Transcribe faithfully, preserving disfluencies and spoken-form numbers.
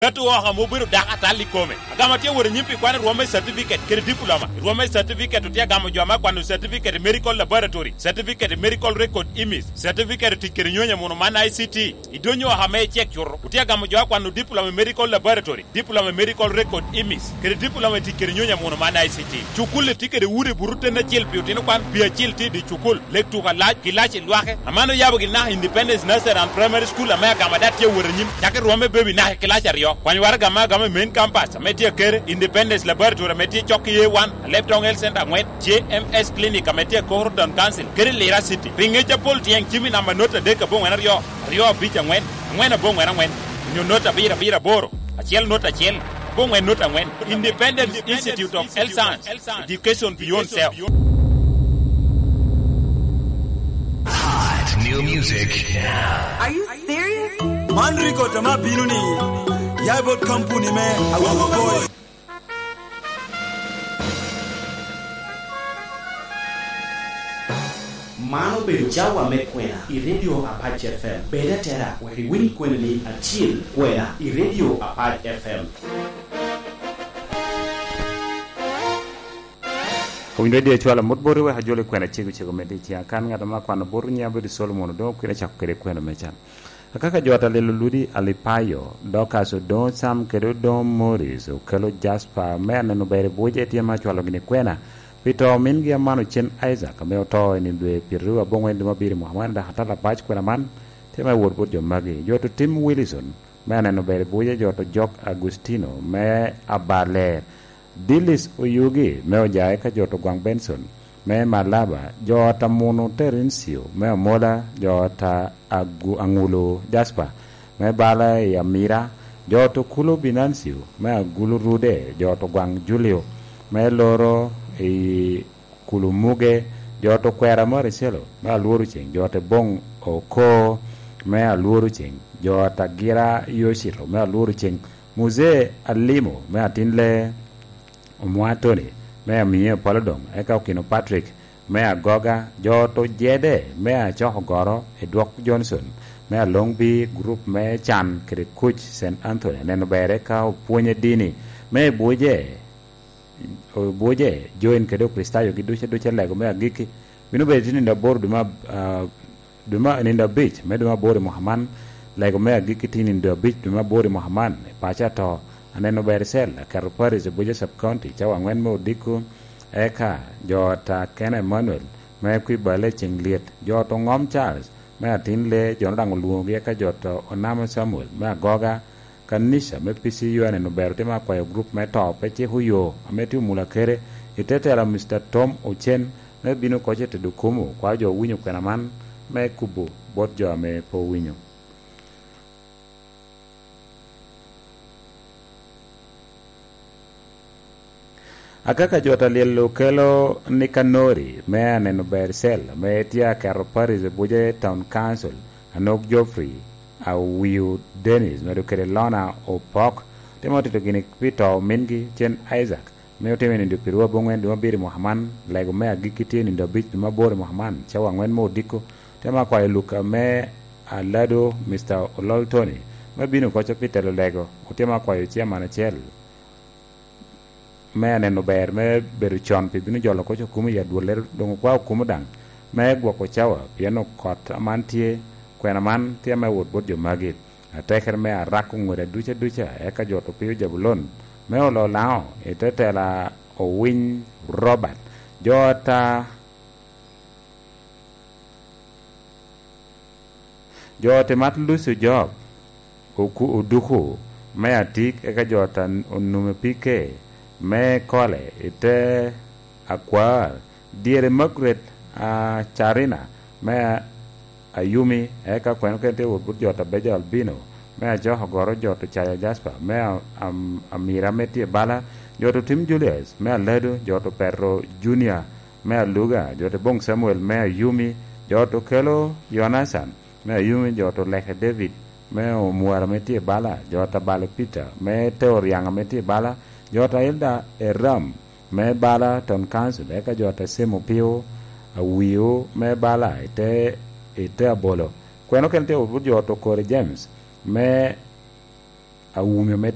Atu oko ame obedo dako atal i kome. Agamo atye wot anyim pi kwano rwom me certificate kede diploma. I rwom me certificate otye agamo jo ame akwano certificate i medical laboratory, certificate i medical record image, certificate i tic kede nyonyo amuno man I C T. I donyo oko ame icek cuto, otye agamo jo akwano diploma i medical laboratory, diploma i medical record image, kede diploma i tic kede nyonyo amuno man I C T. Cukul-li tye kede udi buto ten acel pi otino kwan, pi acel tye i dye cukul, lek tuko alac, gilac i lwake. Aman oyabo gin naka Independence Nursery and Primary School ame agamo ada tye awot anyim, cak i rwom me baby naka i kilaci aryo. Kwany waraga ame agamo i main campus ame tye akere, Independence Laboratory ame tye cok i A one, Alebtong Health Center angwen, J M S Clinic ame tye i Koro Town Council, kede Lira City. Pi ngec apol tyeng cim i namba not adek aboŋwen aryo, aryo abic angwen, angwen aboŋwen angwen, onyo not abiro abiro aboro, acel not acel, aboŋwen not angwen. Independence Institute of Health Science, Education Beyond Self. Hot new music now. Are you serious? Man record ame abino ni, ya bot kampuni me Awuo Boy. Man obedo cawa me kwena i Radio Apac F M. Bed atera wek iwiny kwena ni acil kwena i Radio Apac F M. Owinyo Radio cwalo mot boti wek ajolo i kwena cego cego medde i ciŋa. Kan ŋat ame akwano bot nyiŋe abedo Solomon Odongo, kwena cako kede kwena me can. Akaka jo ata lelo Ludi Alipayo, Dorcas Odongo Sam kede Odongo Morris okelo Jasper me aneno ber i buce tye ma acwalo gini kwena pi to mingi Amano Cen Isaac ame oto i nino dwe pyeraryo aboŋwen dwe me abiro i mwaka man, dok atala bac kwena man tye ma wot bot jo magi. Jo to tim Wilson me aneno ber i buce, jo to Jok Agustino me Abaler, Dilis Oyugi me Ojae ka jo to Gwaŋ Benson me Malaba, jo ta Muno Terencio me Amola, jo ta Agu-, Aŋulu Jasper me bala i Amira, jo to Kulo Binancio me Agulu Rude, jo to Gwaŋ Julio me Loro i Kulu Muge, jo to Kwera Maricelo me Alworo Ceŋ, jo te Boŋ Oko me Alworo Ceŋ, jo ta Gira Yocito me Alworo Ceŋ, Muzee Alimo me Atin Le, Omwa Tony me Amiye Opolo Doŋ, eka Okino Patrick me Agoga, jo to Jede me Acoko Goro, Edwok Johnson me Alongbi, gurup me Can kede Kuc Saint Anthony, aneno ber eka opwonye dini me Buje, Buje, Join kede Okricitayo gi duce duce lego me agikki. Bino bedo tye nino aboro dwe me ab-, ah, dwe ma, nino abic me dwe me aboro i mwaka man. Lego me agikki tye nino abic dwe me aboro i mwaka man. I paco ato, aneno ber i cel, aketo Paris i Abuja Sub County, cawa angwen me odiko, eka jo ata Kena Emmanuel me Kwibale Ceŋ Lyet, jo to Ŋom Charles me Atin Le, jo daŋ olwoŋogi, eka jo to Onamo Samuel me Agoga, Kanica me P C U aneno ber otimo akwayo gurup me to pe ciko yo ame tye omula kede i te tela Mister Tom Ocen me bino koc i tedo kumo, kwao jo owinyo kwena man me kubo bot jo ame pe owinyo. Akaka jo ta lyel okelo Nikanori me aneno ber cel ame tye aketo Paris Abuja Town Council, Anok Geoffrey, Awiu Dennis, medo kede Lona Opok, temo tito gini pi to mingi Cen Isaac, me otimo i nindo pyeraryo aboŋwen dwe me abiro i mwaka man, lego me agikki tye i nindo abic dwe me aboro i mwaka man, cawa angwen me odiko, temo akwayo Luka me Alado, Mister Olol Tony, me bino koco pi telo lego, otemo akwayo ciaman acel me aneno ber me bedo con pi bino jolo koc okumo i adwollere, doŋ okwao okumo daŋ me gwoko cawa, pien okot aman tye, kwena man tye ame wot bot jo magi. Atekere me arako ŋweda duca duca, eka jo to pio Jabulon me olo Laŋo i te tela Owiny Robert. Jo ata Jo te mat Lucio Job, oku-, oduku me atik, eka jo ta onume pike me kole i te akwar, dyere Margaret, a, Carina me Ayumi, eka kweno kene tye wot but jo ta Beja Albino me Ajok Ogoro, jo to Caya Jasper me A-, Am-, Amira me tye bala, jo to Tim Julius me Alado, jo to Petro Junior me Aluga, jo te Boŋ Samuel me Ayumi, jo to Kelo Yonacan me Ayumi, jo to Leke David me Omwara me tye bala, jo ta Bale Peter me te Oriaŋa me tye bala, jo ta Ilda Eram me bala Town Council, eka jo ta Semo Pio Awio me bala i te, i te Abolo. Kweno kene tye wot but jo to Kore James me Awumi me